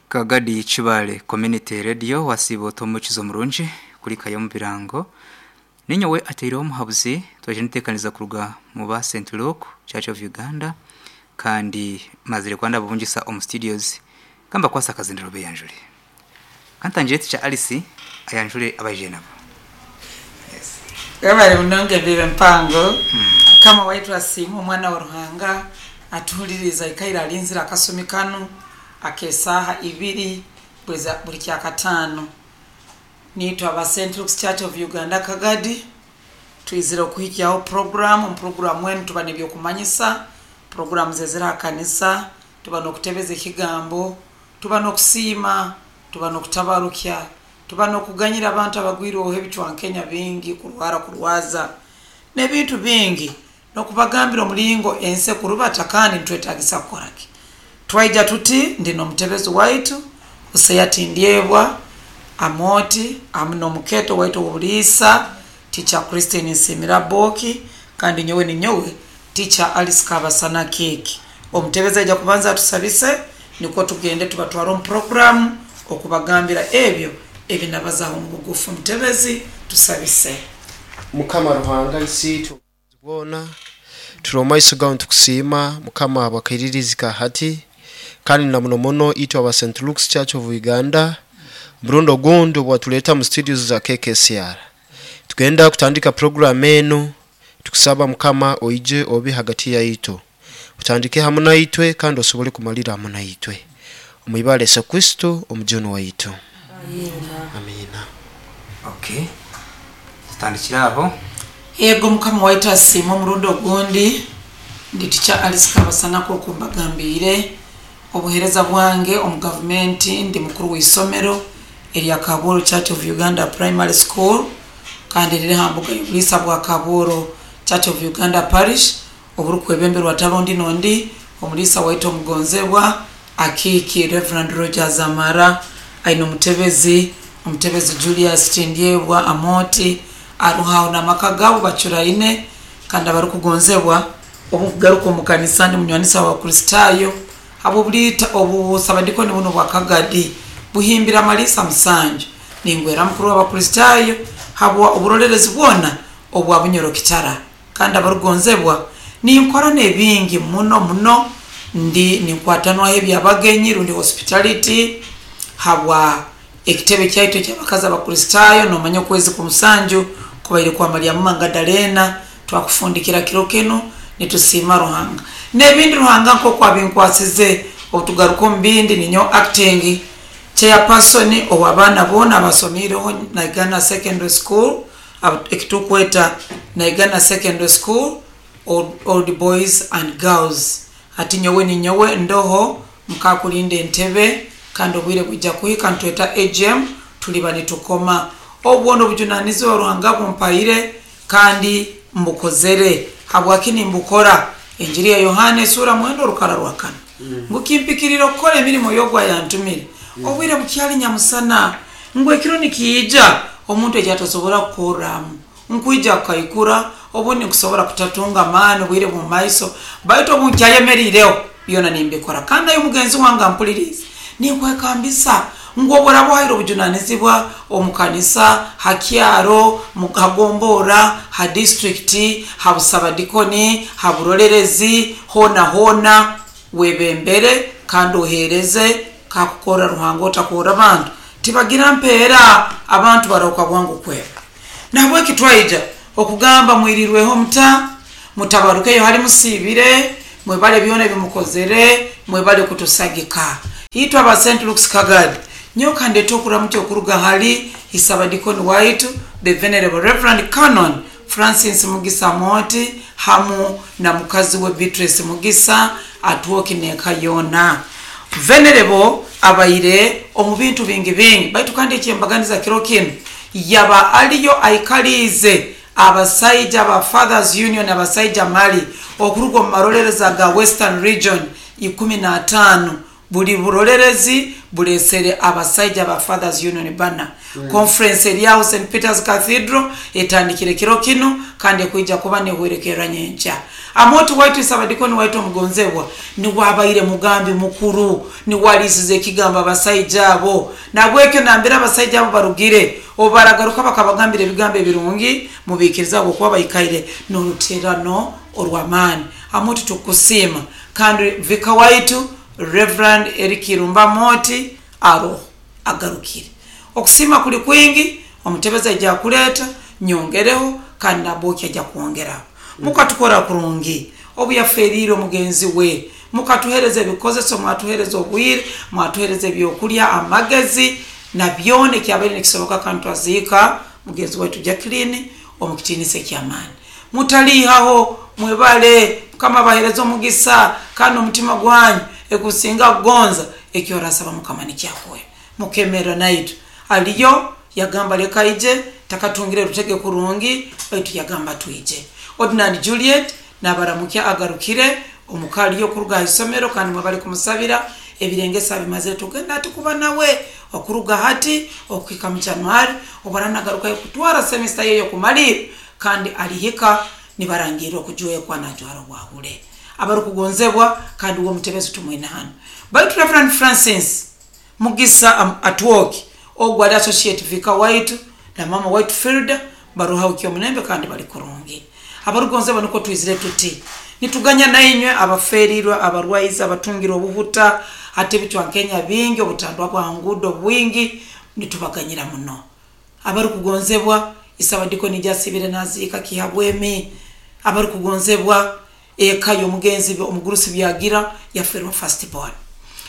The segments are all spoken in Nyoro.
Kagadi Kibale Community Radio wasiiba ota omukizo murungi kulikayo omu birango. Ninyowe ataireho omuhabuzi twaija nituteekaniza kuruga mu ba St Luke Church of Uganda kandi mazire kuba ndababungisa omu studios kambakwase akazindaro beyanjure. Kantangire Teacher Alice ayanjure abaijire nabo. Yes. Webale munonga embibo empango. Mukama waitu asiimwe omwana wa Ruhanga atuhuliriize aikaire alinzire akasumi kanu ak'esaaha ibiri buri kyakataano. Niitwe aba St Luke's Church of Uganda Kagadi twizire okuhikyaho puroguramu. Omu puroguramu enu tuba n'ebyokumanyisa, puroguramu zezire ha kanisa, tuba n'okutebeza ekigambo, tuba n'okusiima, tuba n'okutabarukya, tuba n'okuganyira abantu abagwirweho ebicwankenya bingi, kurwara kurwaza, n'ebintu bingi, n'okubagambira omulingo ensi ekurubata kandi nitwetagisa kukora ki. Twaija tuti ndi n'omutebezi waitu Hosea Tindyebwa Amooti hamu n'omukeeto waitu ow'obuliisa Teacher Christine Nsiimira Booki kandi nyowe ninyowe Teacher Alice Kabasana Kiiki. Omutebezi aija kubanza atusabise nikwo tugende tubatware omu puroguramu okubagambira ebyo ebinabazaho omu bugufu. Mutebezi tusabise. Mukama Ruhanga Isiitwe ow'obusobozi bwona, turi omu maiso gawe nitukusiima Mukama habw'akairirizi ka hati, kandi na muno muno itwe aba Saint Luke's Church of Uganda, omurundi ogundi obu watuleeta mu studios za KKCR. Tugenda kutandika puroguramu enu, tukusaba Mukama oije obe hagati yaitu, otandike hamu naitwe kandi osobole kumalira hamu naitwe. Omu ibara Yesu Kristo Omujuni waitu. Amiina. Okay. Tutandikire aho. Ego Mukama waitu asiimwe omurundi ogundi. Ndi Teacher Alice Kabasana nk'oku mbagambiire. Obuheereza bwange omu gavumenti ndi mukuru w'isomero erya Kabuuru Church of Uganda Primary School kandi riri ha mbuga y'obuliisa bwa Kabuuru Church of Uganda Parish oburikwebemberwa atari ondi n'ondi omuliisa waitu omugonzebwa Akiiki Rev. Rogers Amara aine omutebezi, omutebezi Julius Tindyebwa Amooti aroho aho n'amaka gaabo bacuraine kandi abarikugonzebwa. Obu nkugaruka omu kanisa ndi munywanisa w'Abakristaayo habw'obuliita obusabadikoni bunu obwa Kagadi buhimbire amaliisa musanju. Ningwera mukuru w'Abakristaayo habwa oburolerezi bwona obwa Bunyoro Kitara kandi abarugonzebwa. Ninkora n'ebingi muno muno ndi ninkwatanwaho eby'abagenyi rundi hospitality habwa ekitebe kyaitu eky'abakazi Abakristaayo. Nomanya okwezi kw'omusanju kubaire kwa Malyamu Magadalena. Twakufundikira kiro kinu nitusiima Ruhanga n'ebindi Ruhanga nk'oku abinkwasize. Obutugaruka omu bindi ninyowe acting chairperson ow'abaana boona abasomiireho Naigana Secondary School ekitukweta Naigana Secondary School Old Boys and Girls. Hati nyowe ninyowe ndoho nkakulinda entebe kandi obwire bwija kuhika nitweta AGM tuliba nitukoma. Obu bwona obujunanizibwa Ruhanga bumpaire kandi mbukozere. Habwaki nimbukora? Enjiri ya Yohana esuura mwenda orukara rwa kana ngu kimpikiriire okukora emirimo y'ogu ayantumire obwire bukyali nyamusana, ngu ekiro nikiija omuntu eki atasobora kukorramu. Nkwija kukaikura, obundi nkusobora kutatunga amaani obwire bw'omu maiso, baitu obu nkyayemeriireho, byona nimbikora. Kandi naiwe mugenzi wange ampuliriize, ninkwekambisa ngu obu oraaba ohaire obujunanizibwa omu kanisa, ha kyaro, ha gomborra, ha disiturikiti, ha busabadikoni, ha burolerezi, hoona hoona, webembere kandi oheereze kakukorra Ruhanga otakorra bantu. Tibagira mpeera, abantu barahuka bwangu kweba. Nahabweki twaija okugamba mwirirweho muta, mutabarukeyo hali musiibire, mwebale byona ebi mukozere, mwebale kutusagika. Itwe aba Saint Luke's Kagadi, nyowe kandete okuramukya okuruga hali Isabadikoni waitu The Venerable Rev. Canon Francis Mugisa Amooti hamu na mukazi we Beatrice Mugisa Atwoki n'eka yoona. Venerable abaire omu bintu bingi bingi baitu kandi eky'embaganiza kiro kinu yaba aliyo aikaliize abasaija ba Fathers Union abasaija mali okuruga omu marolereza ga Western Region 15. Buli burolerezi bulesere abasaija ba Fathers Union bana. Conference eri aho St Peters Cathedral etandikire kiro kinu kandi ekwija kuba nehwerekerra nyenkya. Amooti waitu Sabadikoni waitu omugonzebwa niwe abaire mugambi mukuru, niwe alisize ekigambo abasaija abo. Nabwekyo nambere abasaija abo barugire, obu baragaruka bakabagambira ebigambo ebirungi, mubiikiriza habwokuba baikaire n'oruterano orw'amaani. Amooti tukusiima kandi vika waitu Reverend Eric Irumba Amooti aroho agarukire. Okusiima kuli kwingi, omutebezi aija kuleeta nyongereho kandi Naboki aija kwongeraho. Mukatukora kurungi obu yaferiire omugenzi we, mukatuhereza ebikozeso, mwatuhereza obwire, mwatuhereza ebyokulya, amagezi na byona ekyabaire nikisoboka kandi twaziika mugenzi waitu Jacqueline omu kitiinisa eky'amaani. Mutaliihaho, mwebale, Mukama abahereze omugisa kandi omutima gwanyu ekusinga kugonza eki orasaba Mukama nikyakuhe. Mukemerra naitwe. Aliyo yagamba leka aije, takatungire rutege kurungi baitu yagamba twije. Ordinand Juliet nabaramukya agarukire omuka aliyo kuruga ha isomero kandi mwebale kumusabira ebirengesa abimazire tugenda hati kuba nawe okuruga hati okuhika mu January obu aranagarukayo kutwara semester ye y'okumalirra kandi alihika nibarangirra okujwekwa najwara obwahule. Abarukugonzebwa kandi uwe omutebezi tumwine hanu. Baitu Reverend Francis Mugisa Atwoki ogwo ali associate vicar waitu na mama waitu Filda baruhaho Kyomulembe kandi bali kurungi. Abarukugonzebwa nukwo twizire tuti nituganya nainywe abaferirwe, abarwaize, abatungire obuhuta, hati ebicwankenya bingi, obutandwa bwa ngudo bwingi, nitubaganyira muno. Abarukugonzebwa Isabadikoni jasibire naziika Kihabwemi. Abarukugonzebwa eka y'omugenzi omugurusi byagira yaferwa first born.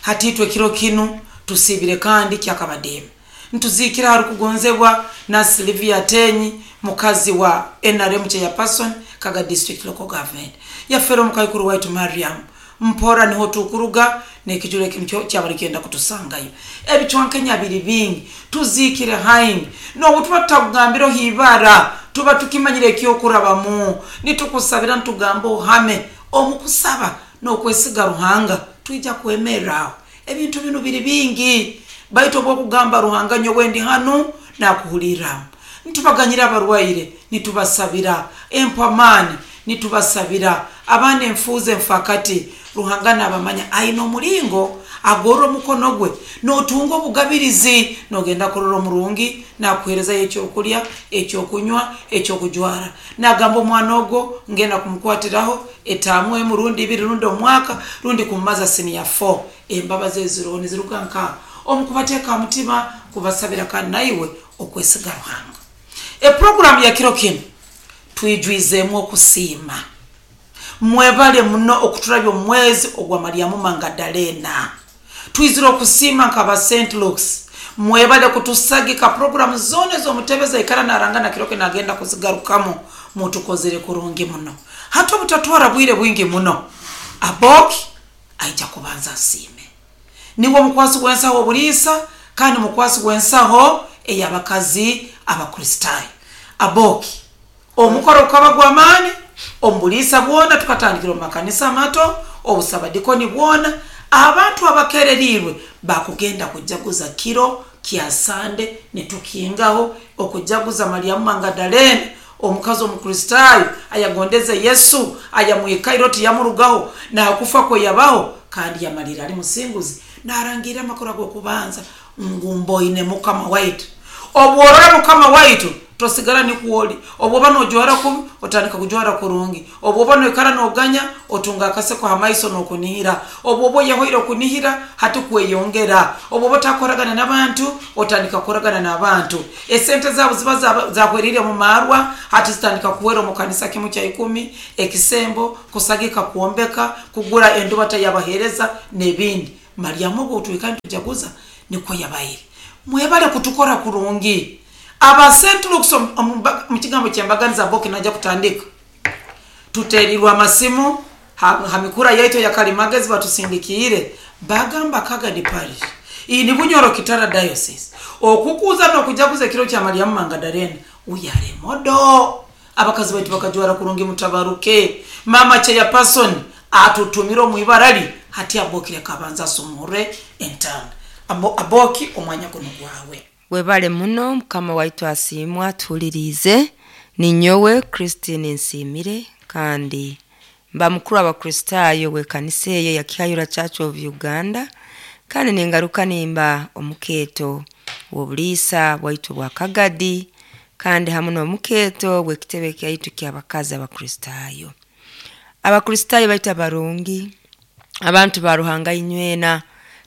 Hati itwe kiro kinu tusibire kandi kyakabadiima. Ntuzikira harukugonzebwa na Sylvia Tenyi, mukazi wa NRM chairperson Kaga District Local Government. Yafera omukaikuru waitu Mariam. Mpora niho tukuruga n'ekijuro eki nikyo kyabali kyenda kutusangayo. Ebicwankenya biri bingi, tuzikire haingi. N'obu tuba tutakugambiraho ibara, tuba tukimanyire ekyokurabamu. Nitukusabira nitugamba ohame omu kusaba n'okwesiga Ruhanga, twija kwemerra aho. Ebintu binu biri bingi, baitu obwokugamba Ruhanga nyowe ndi hanu nakuhulirramu. Nitubaganyira abarwaire, nitubasabira empamaani, nitubasabira abaana enfuuzi enfakati. Ruhanga nabamanya aine omulingo agorra omukono gwe notunga obugabirizi, nogenda kurora omurungi nakuherezayo ekyokulya, ekyokunywa, ekyokujwara. Nagamba omwana ogwo ngenda kumukwatiraho etaamu emu rundi ibiri rundi omwaka rundi kumumaza senior 4. Embabazi eziroho niziruga nkaho omu kubateeka mutima, kubasabira kandi naiwe okwesiga Ruhanga. Eprogramu ya kiro kinu twijwizemu okusiima. Mwebale muno okuturabya omwezi ogwa Mariamu Magdalena. Twizire okusiima nk'aba St Luke's. Mwebale kutusagika programu zona ez'omutebezi aikara narangana kiro kinu agenda kuzigarukamu. Mutukozere kurungi muno. Hati obutatwara bwire bwingi muno, Aboki aija kubanza asiime. Niwe omukwasi gw'ensaho obuliisa kandi mukwasi gw'ensaho ey'abakazi Abakristaayo. Aboki omukoro gukaba gw'amaani omu buliisa bwona, tukatandikira omu makanisa amato, obusabadikoni bwona, abantu abakererirwe bakugenda kujaguza kiro kya Sande nitukingaho okujaguza Mariamu Magdalena, omukazi omukristaayo ayagondeze Yesu, ayamwikaire oti yamurugaho nakufa kwe yabaho kandi yamalira ali musinguzi, narangira amakuru ag'okubanza ngu mboine Mukama waitu. Obworora Mukama waitu tosigara nikwoli. Obwoba nojwara kubi otandika kujwara kurungi. Obwoba noikara noganya otunga akaseko ha maiso n'okunihira. Obwoba oyehoire okunihira hati kweyongera. Obwoba otakoragana n'abantu otandika kukoragana n'abantu. Esente zaabo ziba zahwerire mu marwa hati zitandika kuhwera omu kanisa kimu kya 10, ekisembo, kusagika, kwombeka, kugura endubata y'abaheereza n'ebindi. Mariamu ogwo twikara nitujaguza nikwo yabaire. Mwebale kutukora kurungi. Aba St Luke's mu kigambo ky'embaganiza Aboki najja kutandika. Tuteerirwe amasimu ha mikura yaitu ya Kalimagezi batusindikiire bagamba Kagadi Parish iyi ni Bunyoro Kitara Diocese okukuza n'okujaguza ekiro kya Mariamu Magdalena uyare modo. Abakazi baitu bakajwara kurungi mutabaruke. Mama chairperson atutumire omu ibarali Hati Aboki leka abanza asumure entanda. Aboki, omwanya guno gwawe. Webale muno, Mukama waitu asiimwa. Tuhuliriize, ninyowe Christine Nsiimire, kandi mba mukuru abakristaayo w'ekanisa eyo ya Kihayura Church of Uganda, kandi ningaruka nimba omukeeto w'obuliisa bwaitu bwa Kagadi, kandi hamu n'omukeeto w'ekitebe kyaitu ky'abakazi abakristaayo. Abakristaayo baitu abarungi, abantu ba Ruhanga inywena,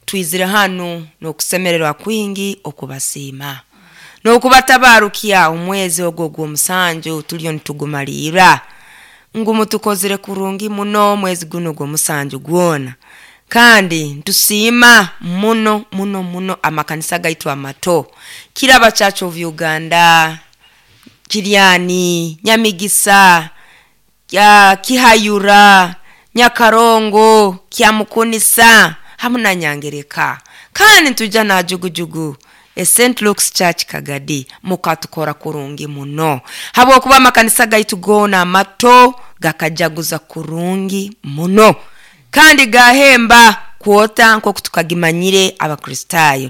twizire hanu n'okusemererwa kwingi okubasiima n'okubatabarukya omwezi ogwo ogw'omusanju tuliyo nitugumalirra, ngu mutukozire kurungi muno omwezi guno ogw'omusanju gwona. Kandi ntusiima muno muno muno amakanisa gaitu amato, Kiraba Church of Uganda, Kiryani, Nyamigisa, Kihayura, Nyakarongo, Kyamukunisa hamu na Nyangereka, kandi ntuja na Jugujugu e St. Luke's Church Kagadi. Mukatukora kurungi muno habwokuba amakanisa gaitu goona amato gakajaguza kurungi muno, kandi gahemba kwota nk'oku tukagimanyire abakristaayo.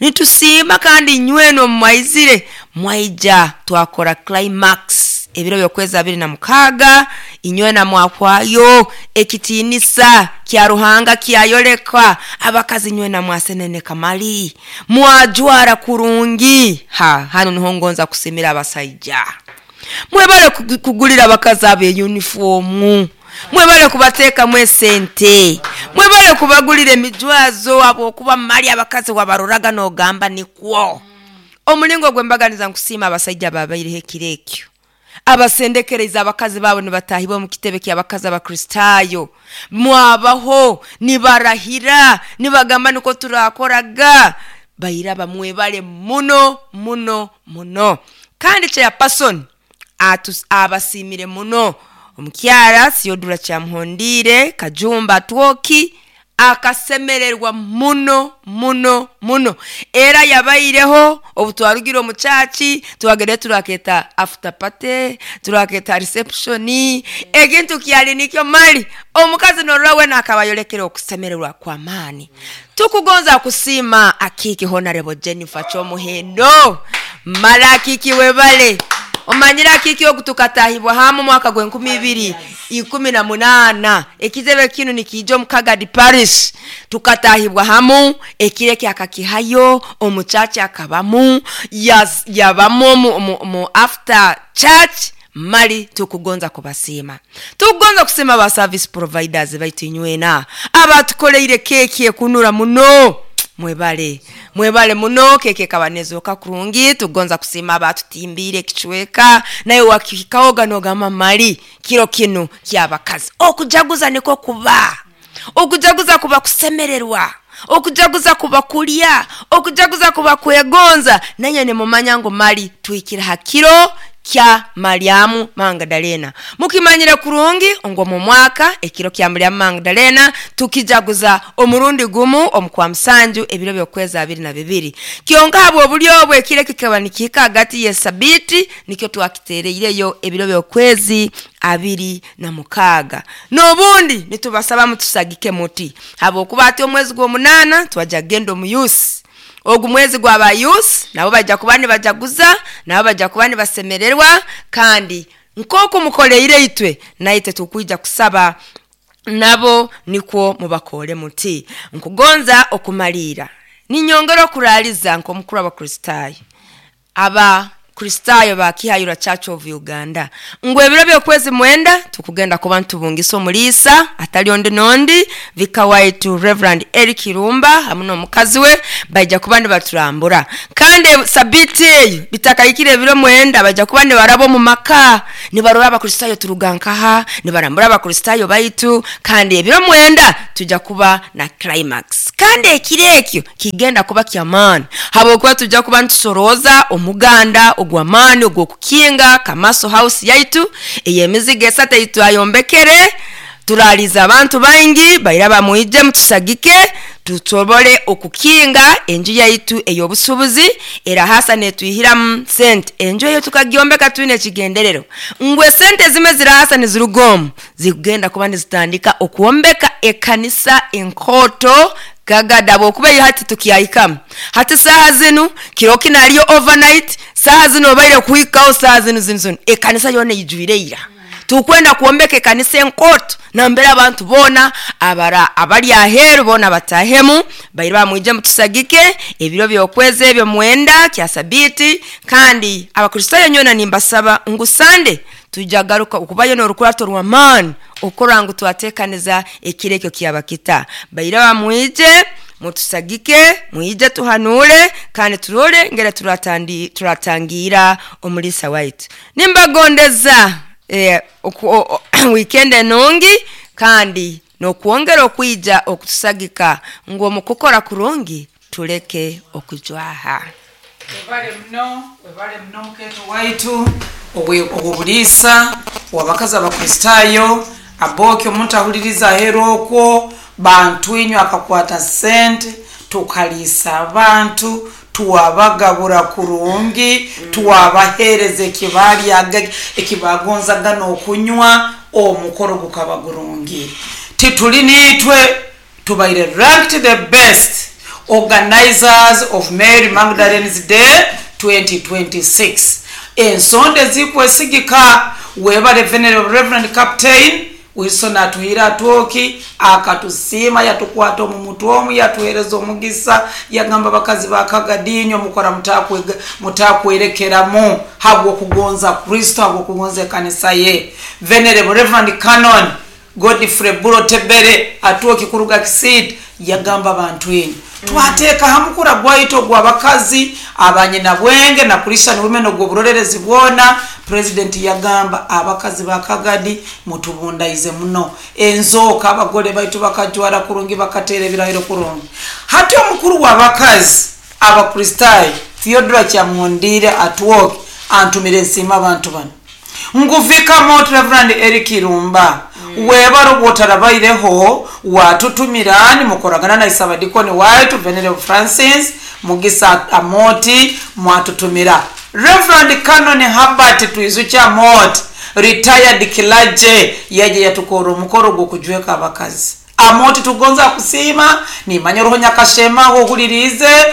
Nitusiima kandi nywena omumwaizire mwaija twakora climax ebiro by'okwezi 26, inywena mwahwayo, ekitiinisa kya Ruhanga kyayolekwa. Abakazi nywena mwaseneneka, mali mwajwara kurungi. Ha, hanu niho ngonza kusimira abasaija. Mwebale kugulira abakazi abo eyunifoomu, mwebale kubateekamu esente, mwebale kubagulira emijwazo, habwokuba mali abakazi wabaroraga n'ogamba nikwo omulingo gwembaganiza. Nkusiima abasaija babaireho ekiro ekyo, abasendekereza abakazi baabo nibatahibwa omu kitebe ky'abakazi abakristaayo. Mwabaho nibarahira nibagamba niko turakoraga bairaba. Mwebale muno muno muno. Kandi chairperson abasiimire muno omukyara Siodura Kyamuhondiire Kajumba Twoki, akasemererwa muno muno muno. Era yabaireho obu twarugire omu church, twagende turaketa after party, turaketa reception. Ekintu kyali nikyo mali omukazi norora wena akaba ayolekere okusemererwa kw'amaani. Tukugonza kusiima akiiki Honorable Jennifer Kyomuhendo. Mara akiiki webale. Omanyire akiiki ogu tukatahibwa hamu mwaka gw'e 2018, ekizebe kinu nikiija omu Kagadi Parish. Tukatahibwa hamu ekiro eki, akakihayo omuchachi, akabamu yabamu mu after church. Mali tukugonza kubasiima, tukugonza kusiima ba service providers baitu inywena abatukoleire keki ekunura muno. Mwebale, mwebale muno, keke ekaba nezooka kurungi. Tukugonza kusiima abatutimbiire ekicweka, naye wakihikahoga nogamba mali kiro kinu kyabakazi. Okujaguza niko kuba okujaguza, kuba kusemererwa, okujaguza kuba kulya, okujaguza kuba kwegonza. Nanye nimumanya ngu mali tuhikire ha kiro kya Mariamu Magdalena. Mukimanyire kurungi ngu omu mwaka ekiro kya Mariamu Magdalena tukijaguza omurundi gumu omu kwa musanju ebiro by'okwezi 22. Kyonka habw'obulyo obwo ekiro kikaba nikihika hagati y'esabiti, nikyo twakitereireyo ebiro by'okwezi 26. N'obundi nitubasaba mutusagike muti, habwokuba ati omwezi gw'omunaana twajja kugenda omu youth. Ogu mwezi gwaba youth, nabo bajja kuba nibajaguza, nabo bajja kuba nibasemererwa. Kandi nk'oku mukoleire itwe, naitwe tukwija kusaba nabo nikwo mubakore muti. Nkugonza okumaliira ninyongera okuraaliza nk'omukuru abakristaayo, abakristaayo ba Kihayura Church of Uganda, ngu ebiro by'okwezi 9 tukugenda kuba ntubungisa omuliisa atali ondi nondi, vicar waitu Reverend Eric Irumba hamu n'omukazi we baija kuba nibaturambura. Kandi sabiti eyo bitakahikire ebiro 9, baija kuba nibaraba omu maka nibarora abakristaayo turuga nkaha, nibarambura abakristaayo baitu. Kandi ebiro 9 tujja kuba na climax, kandi ekiro ekyo kigenda kuba kyamaani, habwokuba tujja kuba nitusorooza omuganda ogw'amaani ogw'okukinga Kamaso House yaitu ey'emizigo esatu ei twayombekere. Turaliza abantu baingi bairaba, mwije mutusagike. Tusobole okukinga enju yaitu ey'obusuubuzi erahasa netwihiramu sente. Enju eyo tukagyombeka twine ekigenderero ngu esente zimwe zirahasa niziruga omu zikugenda kuba nizitandika okwombeka ekanisa enkooto Kagadi, habwokuba iyo hati tukyahikamu hati saaha zinu kiro kinu hariyo overnight, saaha zinu obaire kuhikaho saaha zinu zinu zinu ekanisa yoona eijwire ira. Tukwenda kwombeka ekanisa enkooto nambere abantu boona abara abari aheeru boona batahemu baire bamwije mutusagike ebiro by'okwezi ebyo 9 kya sabiiti. Kandi Abakristaayo nyoona nimbasaba ngu Sande twija garuka okubayo n'orukurato rw'amaani okurora ngu twateekaniza ekiro ekyo kyaba kita. Baire bamwije mutusagike, mwije tuhanuule kandi turole ngeri turatangiira omuliisa waitu. Nimbagondeza weekend enungi kandi n'okwongera okwija okutusagika ngu omu kukora kurungi tuleke okujwaha. Webale muno, webale muno mukeeto waitu ow'obuliisa ow'abakazi Abakristaayo. Aboki omuntu ahuliriza aheeru okwo, bantu inywe akakwata sente tukaliisa abantu, twabagabura kurungi, twabaheereza ekibalyaga ekibagonzaga n'okunywa, omukoro gukaba gurungi. Tituli niitwe tubaire ranked the best organizers of Mary Magdalene's Day 2026. Ensonda ezikwesigika. Webale Venerable Reverend Captain Wilson atuhire atwoki akatusiima, yatukwata omu mutwe omu, yatuhereza omugisa, yagamba abakazi ba Kagadinyo mukora mutakwerekeramu habw'okugonza Kristo, habw'okugonza ekanisa ye. Venerable Reverend Canon Godfrey Buro Tebere atwoki kuruga Kisiita yagamba abantu inyu twateeka ha mukura gwaitu ogw'abakazi abanyina bwenge na Christian Women ogw'oburorerezi bwona. President yagamba abakazi ba Kagadi mutubundaize muno, enzooka abagole baitu bakajwara kurungi, bakateera ebirahiro kurungi. Hati omukuru w'abakazi Abakristaayo Theodora Kyamundire atwoki antumire nsiima abantu bano nguvika mot Reverend Eric Irumba, webare obwotarabaireho watutumira nimukoragana na isabadikoni waitu Venerable Francis Mugisa Amoti, mwatutumira Reverend Canon Herbert Twizucha Amoti, retired clergy, yaje yatukora omukoro gw'okujweka abakazi. Amoti tugonza kusiima, nimanya roho nyakashema ohulirize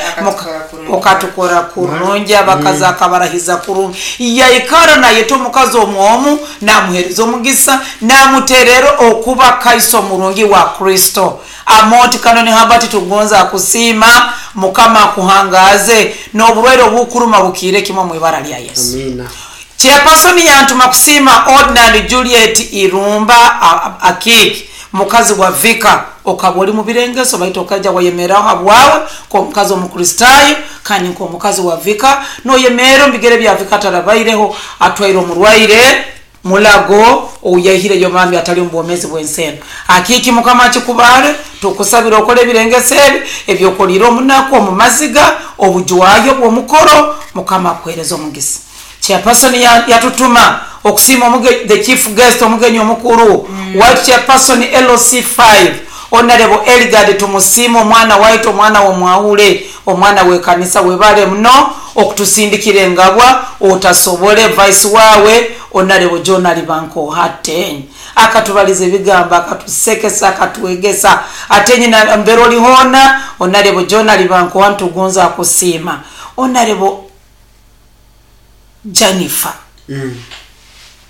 okatukora kurungi, abakazi akabarahiza kurungi, yaikara nayeta omukazi omwomu namuhereza omugisa namuterera okuba kaiso murungi wa Kristo. Amoti Kanoni Habati tugonza kusiima, Mukama akuhangaze n'oburwaire obukuruma bukiire kimwe mu ibara lya Yesu. Amina. Chairperson yantuma kusiima Ordinary Juliet Irumba Akiki, mukazi wa vika, okaba oli mu birengeso baitu okaja wayemeraho habwawe nk'omukazi omukristaayo kandi nk'omukazi wa vika noyemera omu bigere bya vika atarabaireho atwaire omurwaire mulago ouyahireyo mami atali omu bwomezi bw'ensi eno. Akiki Mukama akikubaare, tukusabira okole ebirengeso ebi ebyokolire omunaku omu maziga obujwayo bw'omukoro, Mukama akuhereza omugisa. Chairperson yatutuma okusiima the chief guest, omugenyi omukuru white chairperson LC5 Honorable Elgard tumusiima, omwana waitu, omwana w'omwahule, omwana w'ekanisa, webale muno okutusindikira engabwa otasobole vice wawe Honorable John Alibanko Atenyi akatubaliza ebigambo, akatusekesa, akatwegesa. Atenyi na mbere olihona Honorable John Alibanko ntugonza akusiima. Honorable Jennifer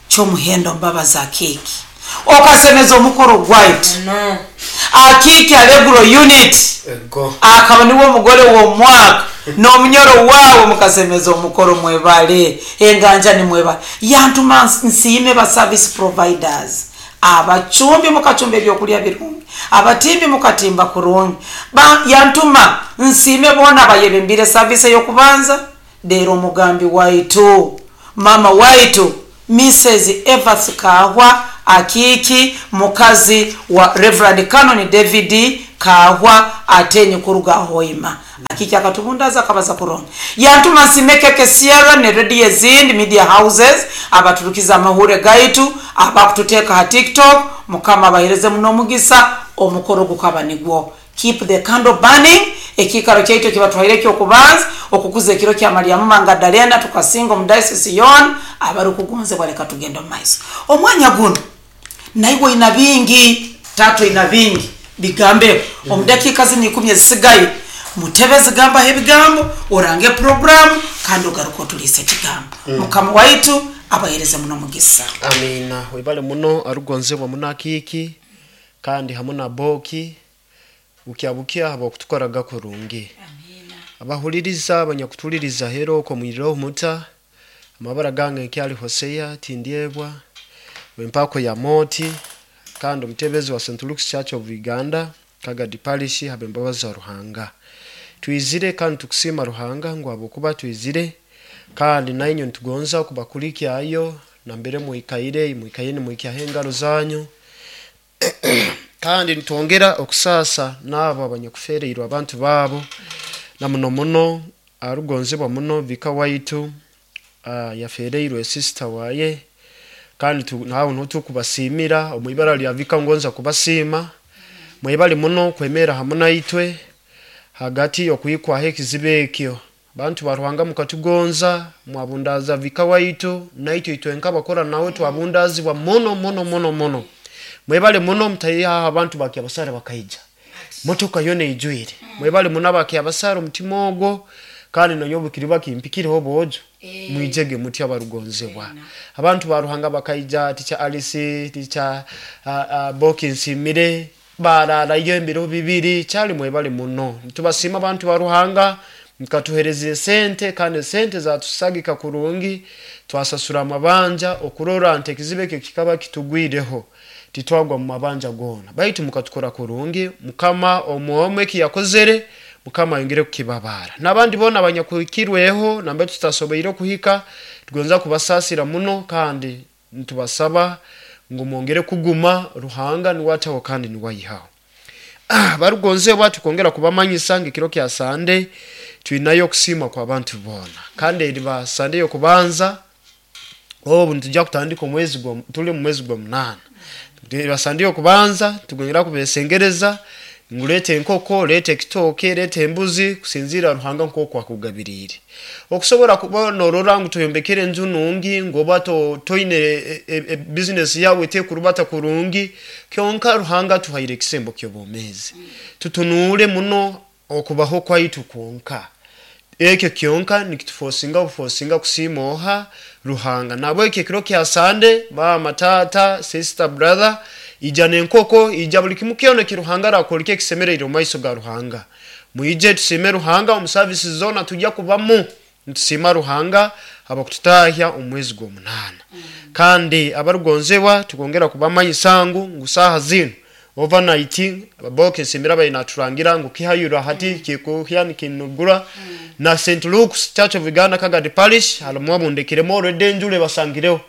Kyomuhendo Mbabazi Akiki okasemeza omukoro gwaitu Akiki Allegro unit Ego. akaba niwe omugole w'omwaka n'omunyoro waawe mukasemeza omukoro, mwebale enganja ni mwebale. Yantuma nsiime ba service providers, abacumbi mukacumba ebyokulya birungi, abatimbi mukatimba kurungi. Yantuma nsiime boona abayebembire service ey'okubanza leero omugambi waitu mama waitu Mrs Evans Kahwa Akiki, mukazi wa Reverend Canon David Kahwa Atenyi kuruga Hoima. Akiki akatubundaza akabaza kurungi. Yantuma nsime Keke Sierra ne radio ezindi media houses abaturukiza amahure gaitu abakututeeka ha TikTok, Mukama abahereze muno omugisa, omukoro gukaba nigwo. Keep the candle burning. Ekiikaro kyaitu ekibatwaire ekyokubanza okukuza ekiro kya Mariamu Mangadalena, tukasinga omu diocese yoona. Abarukugonzebwa, leka tugende omu maiso. Omwanya guno naiwe oina bingi, tata oina bingi bigambeho omu dakiika zinu 10 ezisigaye. Mutebezi, gambaho ebigambo, orange programu, kandi ogaruka otuliisa ekigambo. Mukama waitu abahereze muno mugisa. Amina. Webale muno arugonzebwa munakiiki kandi hamu na boki bukya bukya habwokutukoraga kurungi. Abahuliriza, abanyakutuliriza hero okwo mwirireho muta. Amabara gange nkyali Hoseya Tindyebwa wempako ya moti, kandi omutebezi wa St. Luke's Church of Uganda, Kagadi Parish. Habembabazi za Ruhanga twizire, kandi tukusiima Ruhanga ngu habwokuba twizire, kandi nainywe nitugonza kubakulikyayo nambere mwikaire, mwikaire nimwikyaho engaro zanyu. Kandi nitwongera okusaasa n'abo abanyakufereirwe abantu baabo, na muno muno arugonzebwa muno vika waitu, yafereirwe sister waye. Kandi nawe niho tukubasiimira omu ibara lya vika. Ngonza kubasiima, mwebale muno kwemera hamu naitwe hagati y'okwikwaho ekizibu ekyo. Bantu ba Ruhanga, mukatugonza, mwabundaza vika waitu, naitwe itwe nk'abakora nawe twabundazibwa muno muno muno muno. Mwebale muno, mutayihaho abantu bakyabasara bakaija, motoka yona eijwire. Mwebale muno abakyabasara omutima ogwo, kandi nanyowe bukiriba kimpikireho boojo mwijege mutya. Abarugonzebwa, abantu ba Ruhanga bakaija, tica Alice, tica Boki Nsimire, bararayo ebiro 2 kyali. Mwebale muno, nitubasiima abantu ba Ruhanga. Mukatuhereza esente, kandi esente zatusagika kurungi, twasasura amabanja okurora nti ekizibu ekyo kikaba kitugwireho, titwagwa mu mabanja goona, baitu mukatukora kurungi. Mukama omwomwe ekiyakozere, Mukama ayongere kukibabara. N'abandi boona abanyakuhikirweho nambere tutasoboire kuhika, tugonza kubasasira muno, kandi nitubasaba ngu mwongere kuguma. Ruhanga niwe ataho kandi niwe ayihaho. Barugonzebwa, tukongera kubamanyisa ng'ekiro kya Sande twinayo okusiima kw'abantu boona, kandi eriba Sande y'okubanza obu nitujja kutandika omwezi gwa tuli mu mwezi gwa 8. Eriba Sande y'okubanza, tugongera kubesengereza ngu leeta enkoko, leeta ekitooke, leeta embuzi, kusinziira Ruhanga nk'oku akugabiriire, okusobora kuba norora ngu toyombekere enju nungi, ngu oba toine business yawe tekurubata kurungi. Kyonka Ruhanga atuhaire ekisembo ky'obwomeezi, tutunuule muno okubaho kwaitu kwonka. Ekyo kyonka nikitufosinga bufosinga kusiima oha? Ruhanga. Nabwekyo ekiro kya Sande, mama, tata, sister, brother, ija n'enkoko, ija buli kimu kyona eki Ruhanga arakwoleka ekisemereire omu maiso ga Ruhanga. Mwije tusiime Ruhanga omu services zoona, tujja kubamu nitusiima Ruhanga habwokututahya omu mwezi gw'omunaana. Kandi abarugonzebwa, tukongera kubamanyisa ngu saaha zinu overnight boke Nsimbira abaire naturangira ngu kihayura hati kikuhya nikinugura na St. Luke's Church of Uganda Kagadi Parish harimu abundekiremu already enjura ebasangireho.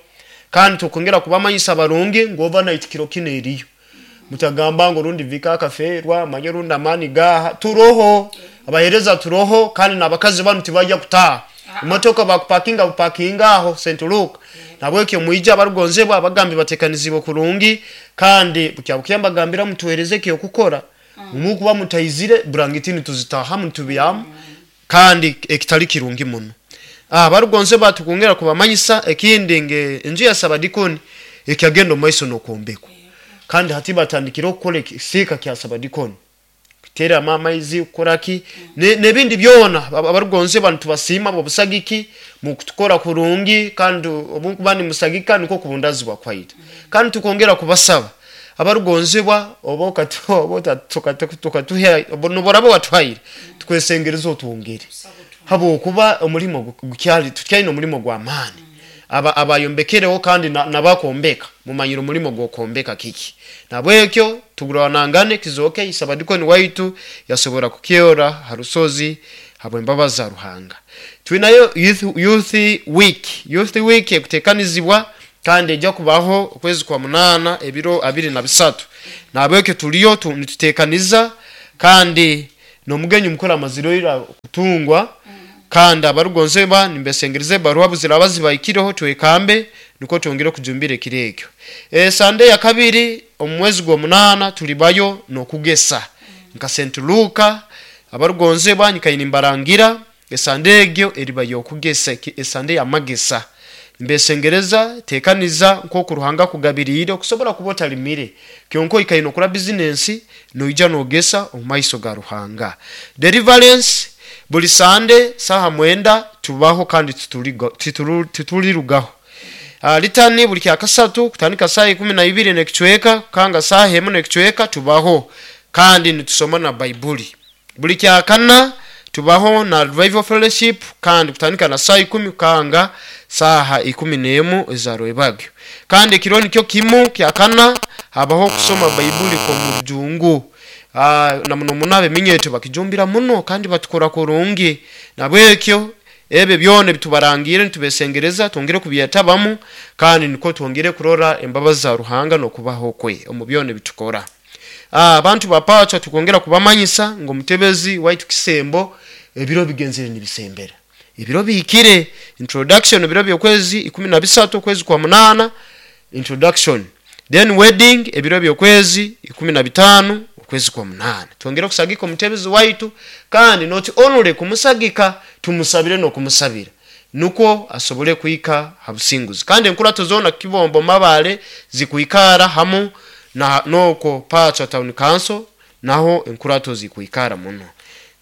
Kandi tukongera kubamanyisa barungi ngu overnight kiro kino eriyo. Mutagamba ngu rundi vika akaferwa, manye rundi amani gaha. Turoho abahereza, turoho, kandi n'abakazi banu tibajya kutaha emotoka, bakupakinga bupakinga aho St. Luke. Nabwekyo mwija abarugonzebwa, abagambi batekanizibwe kurungi, kandi bukya bukya mbagambira mutuhereze ekyokukora. Mukuba mutaizire, burangiti nituzitahamu nitubyamu, kandi ekitali kirungi muno. Barugonzebwa, tukongera kubamanyisa ekindi nge enju ya sabadikoni ekyagenda omu maiso n'okwombekwa, kandi hati batandikire okukora ekisiika kya sabadikoni, kuteeramu amaizi, kukoraki n'ebindi byona. Abarugonzebwa, nitubasiima bobusagiki mukutukora kurungi, kandi obunkuba nimusagika nikwo kubundazibwa kwaitu. Kandi tukongera kubasaba abarugonzebwa, oba tukatuha noboraba watuhaire, tukwesengereza otwongere, habwokuba omulimo gukyali, tukyalina omulimo gw'amaani. Aba abayombekereho kandi nabakombeka mumanyire omulimo gw'okwombeka kiki. Nabwekyo tugurwanangane kizoke isabadikoni waitu yasobora kukyora ha rusozi habw'embabazi za Ruhanga. Twinayo youth week. Youth week ekutekanizibwa kandi ejja kubaho okwezi kwa 8 ebiro 23. Nabwekyo tuliyo nitutekaniza, kandi n'omugenyi mukuru amazire ira kutungwa. Kandi abarugonzebwa, nimbesengereza ebaruha buziraba zibaikireho, twekambe nukwo twongere kujumbira ekiro ekyo. Sande ya kabiri omu mwezi gw'omunaana tulibayo n'okugesa. Nka St. Luka abarugonzebwa nyikaire nimbarangira esande egyo eriba yokugesa, esande yamagesa. Mbesengereza tekaniza nkoku Ruhanga kugabiriire okusobora kuba otalimire, kyonka oikaire nokora bizinensi noija nogesa omu maiso ga Ruhanga. Deliverance buli sande saha 9 tubaho kandi titulirugaho. Litani buli kyakasatu kutandika saha 12 n'ekicweka kanga saha 1 n'ekicweka tubaho kandi nitusoma na Baibuli. Buli kyakana tubaho na Revival Fellowship kandi kutandika na saha 10 kanga saha 11 eza rwebagyo. Kandi ekiro nikyo kimu kyakana habaho kusoma Baibuli kw'omurujungu. Na muno muno abeminyeto bakijumbira muno kandi batukora kurungi. Nabwekyo ebyo byona ebitubarangire nitubesengereza twongere kubyetabamu kandi niko twongere kurora embabazi za Ruhanga n'okubaho kwe omu byona ebitukora. Abantu bapacha tukongera kubamanyisa ngo omutebezi waitu Kisembo ebiro bigenzere nibisembera, ebiro bihikire. Introduction ebiro by'okwezi 13 okwezi kwa 8 introduction, then wedding ebiro by'okwezi 15 okwezi kwa 8. Twongere kusagika omutebezi waitu kandi not only kumusagika, tumusabire n'okumusabira nukwo asobole kuhika ha businguzi. Kandi enkurato zona Kibombo Mabale zikuikara hamu na noko Pacha Town Council, naho enkurato zikuikara muno.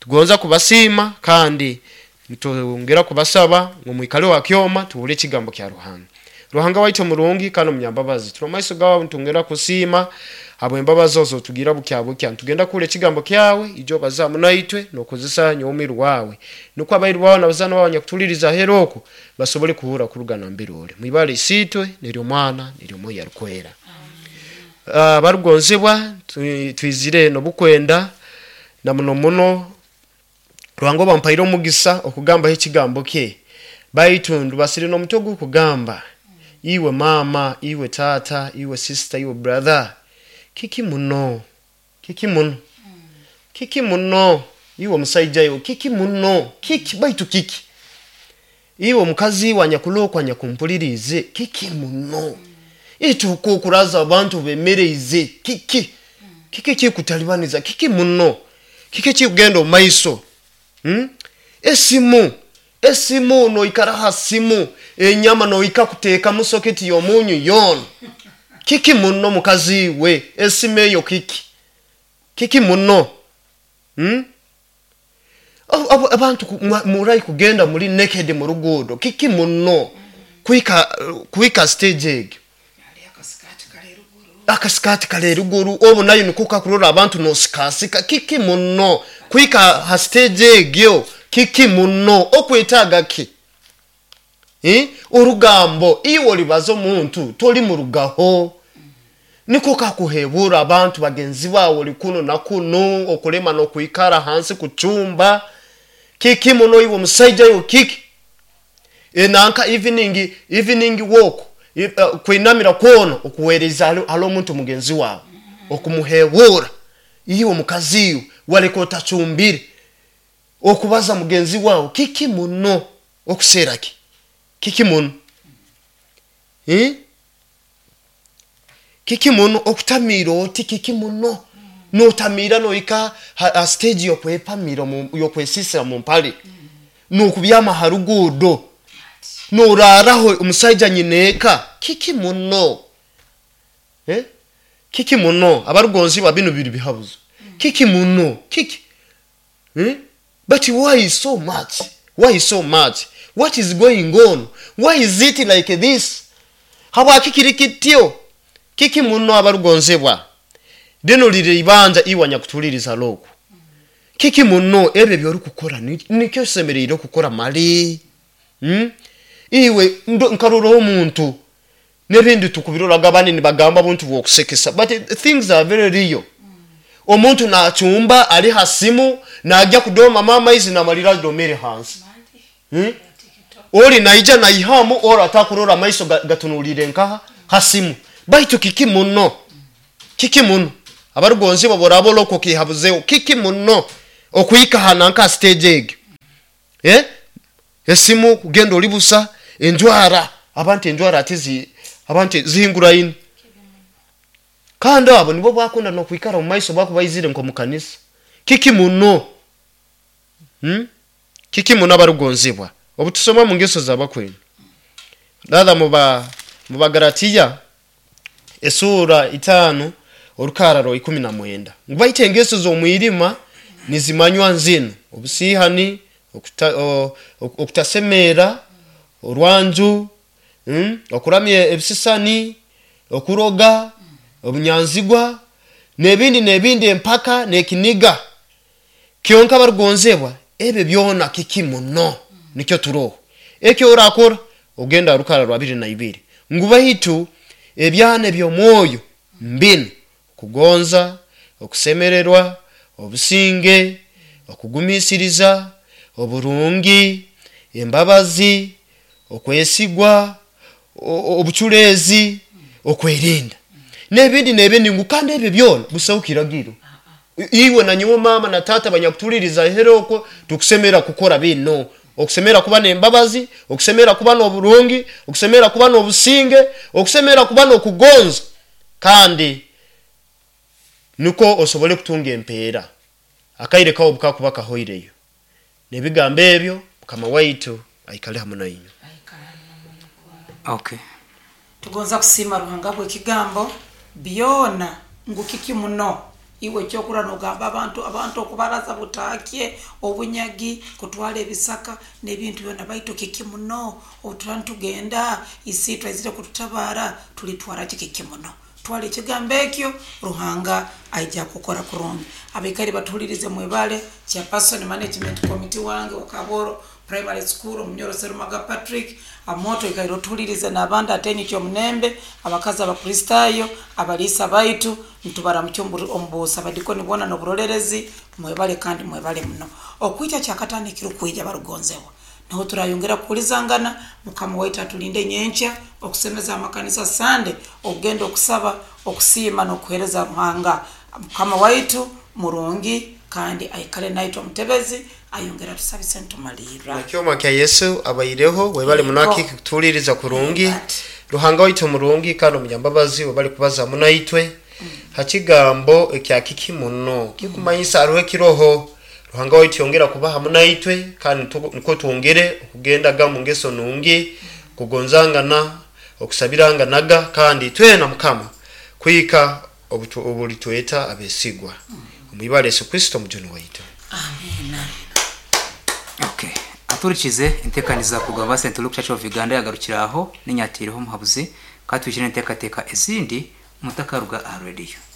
Tugonza kubasiima kandi nitwongera kubasaba ngo mwikale wa kyoma tuwule ekigambo kya Ruhanga. Ruhanga waitu murungi kandi omunyambabazi, turi maiso gawe ntongera kusiima habw'embabazi ozo tugira bukya bukya. Ntugenda kule ekigambo kyawe ijo bazamu naitwe nokozesa nyomiru wawe, nukwo abairu bawe nabazana bawe nyakutuliriza heroko basobole kuhura kuruga nambere ori. Mwibale isitwe neryo mwana neryo Mwoyo Arikwera. Barugonzebwa twizire nobukwenda na muno muno Ruhanga bampaire omugisa okugambaho ekigambo kye, baitu ndubasire n'omutwe gw'okugamba iwe mama, iwe tata, iwe sister, iwe brother, kiki muno, kiki muno, kiki muno, iwe omusaija iwe kiki muno, kiki baitu kiki, iwe omukazi wanyakulokwa nyakumpulirize kiki muno, ituko okuraza abantu bemereize kiki, kiki kikutalibaniza kiki muno, kiki kikugenda omu maiso. Esimu esimu noikara ha simu enyama noika kuteeka mu soketi y'omunyu yoona kiki muno mukazi we esimu eyo kiki kiki muno. Abantu murai kugenda muri naked mu rugudo kiki muno kuika stage egyo akasikati kale ruguru obu nayo nikuka kurora abantu nosikasika kiki muno kuika ha stage egyo kiki muno okwetaga ki orugambo iwe olibaza omuntu toli murugaho niko kakuhebura abantu bagenzi bawe oli kuno na kuno okulema nokuikara hansi kuchumba kiki muno iwe omusaija iwe kiki enanka evening walk kwinamira kwono okuwereza alo omuntu mugenzi wawe okumuhebura iwe omukazi iwe waleka otachumbire okubaza mugenzi wawe kiki muno okuseraki kiki muno kiki muno okutamira oti kiki muno notamira noika ha stage yokwepamira yokwesisa mu mpale nokubyama harugudo noraraho omusaija nyineka kiki muno kiki muno abarugonzi ba bino biri bihabuzo kiki muno kiki But why so much? Why so much? What is going on? Why is it like this? Habwaki kiri kityo? Kiki muno abarugonzebwa lino liri ibanja iwa nyakutuliriza loko kiki muno ebyo byori kukora nikyo semereire kukora mali iwe nkarora omuntu nebindi tukubiroraga banini bagamba buntu bwokusekesa, but things are very real. Omuntu nachumba ali hasimu najya kudoma mama izi namalira domere hansi ori naija naihamu ora atakurora maiso gatunulire nkaha hasimu baitu kiki muno kiki muno abarugonzi baborabo loko kihabuzeo kiki muno okuika hananka stage egyo esimu kugenda olibusa enjwara abantu enjwara atizi abantu zihingura ino kandi abo nibo bakunda no kwikara mu maiso bakubayizire nko mu kanisa. Kiki muno? Kiki muno abarugonzibwa? Obu tusoma mu ngeso z'abakwenda, rather mu Bagalatiya esura 5 orukararo 19, ngu baita engeso z'omwirima nizimanywa nzino: obusihani, okutasemera, orwanju, okuramya ebisisani, okuroga, obunyanzigwa, n'ebindi n'ebindi, empaka n'ekiniga. Kyonka barugonzebwa, ebyo byona kiki muno? Nikyo turoho. Ekyo orakora ogenda rukara rwa 22, ngu baitu ebyana eby'omwoyo mbinu: kugonza, okusemererwa, obusinge, okugumisiriza, oburungi, embabazi, okwesigwa, obuculeezi, okwerinda, n'ebindi n'ebindi. Ngu kandi ebyo byona busaho kiragiro. Iwe na nyowe, mama na tata banyakutuliriza here okwo, tukusemera kukora bino: okusemera kuba n'embabazi, okusemera kuba n'oburungi, okusemera kuba n'obusinge, okusemera kuba n'okugonza, kandi niko osobole kutunga empeera akaire kawe bukakuba kahoireyo. N'ebigambo ebyo, Mukama waitu aikale hamu nainywe. Okay. Tugonza kusiima Ruhanga bw'ekigambo byona ngu kiki muno. Iwe ekyokurora nogamba abantu okubaraza butakye, obunyagi, kutwara ebisaka n'ebintu byona, baitu kiki muno? Obutura nitugenda, isiitwe aizire kututabara, tulitwara ki? Kiki muno? Twara ekigambo ekyo, Ruhanga aija kukora kurungi. Abaikaire batuhulirize, mwebale. Chairperson management committee wange wakaboro primary school, Omunyoro Serumaga Patrick amoto, ikaire otuhulirize, n'abandi atenyi kyomunembe, abakazi abakristayo, abaliisa baitu, nitubaramukya omubuusa, abadikoni boona n'oburolerezi, mwebale kandi mwebale muno. Okwija kyakataano ekirukwija, barugonzebwa, niho turayongera kuhulizangana. Mukama waitu atulinde nyenkya okusemeza amakanisa sande, okugenda okusaba, okusiima n'okuheereza Ruhanga. Mukama waitu murungi kandi aikale naitwe. Omutebezi ayongera tusabise ntumalirra. Nakyoma kya Yesu abaireho. Webale munaki kutuhuliriza kurungi. Ruhanga waitu murungi kandi omunyambabazi, webale kubaza hamu naitwe ha kigambo ekya kiki muno, kikumanyisa hariho ekiroho. Ruhanga waitu yongera kuba hamu naitwe, kandi niko twongere okugendaga mu ngeso nungi, kugonzangana, okusabiranganaga, kandi twena Mukama kuhika obulitweta abesigwa. Omwibale Yesu Kristo omujuni waitu. Amina. Okay, aturikize entekaniza kugamba St. Luke Church of Uganda yagarukira aho. Ninyatiireho omuhabuzi, katwijire enteekateeka ezindi mutakaruga aha rediyo.